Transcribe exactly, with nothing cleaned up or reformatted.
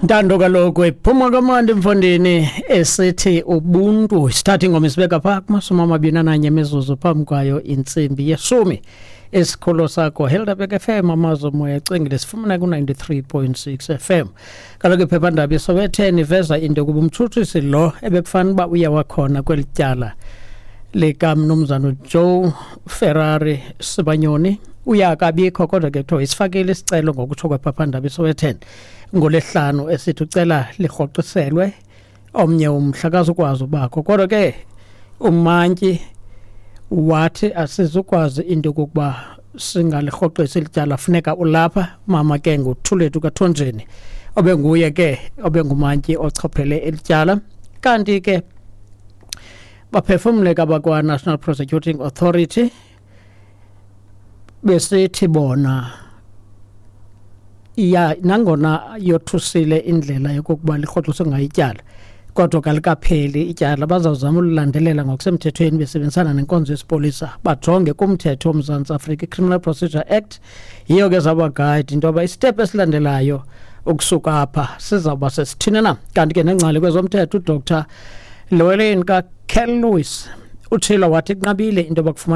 Ntando kaloku iphuma kamandi mfondini esithi ubuntu. Sithatha ingoma isibeka phaa kumashumi amabini ananye imizuzu phambi kwayo intsimbi yeshumi. Isikhululo sakho Helderberg F M, Amazwi Moya Ecwengile, sifumana ku-ninety-three point six F M. Kaloku iphephandaba iSowetan iveza into yokuba umtshutshisi lo ebekufanele uba uye wakhona kweli tyala likamnumzana uJoe Ferrari Sibanyoni uye akabikho, kodwa ke kuthiwa isifakile isicelo ngokutsho kwephephandaba iSowetan ngolwesihlanu, esithi ucela lirhoxiselwe omnye umhla akazukwazi ubakho. Kodwa ke umantyi wathi asizukwazi into yokokuba singalirhoxisi lityala, funeka ulapha. Mama ke nguThulethu kaThonjeni obenguye ke obengumantyi ochophele elityala. Kanti ke baphefumle abakwa-National Prosecuting Authority besithi bona ya nangona yothusile indlela yokokuba lirhoxiswe ngayo ityala, kodwa kalikapheli ityala, bazawuzama ululandelela ngokusemthethweni besebenzisana nenkonzo yesipolisa, bajonge kumthetho woMzantsi Afrika, i-Criminal Procedure Act. Yiyo ke zawuba-guide into yoba i-step esilandelayo ukusuka apha sizawuba sesithini na. Kanti ke nengcali kwezomthetho uDoctor Llewellyn kaCurlewis utshilo wathi kunqabile into yoba kufumana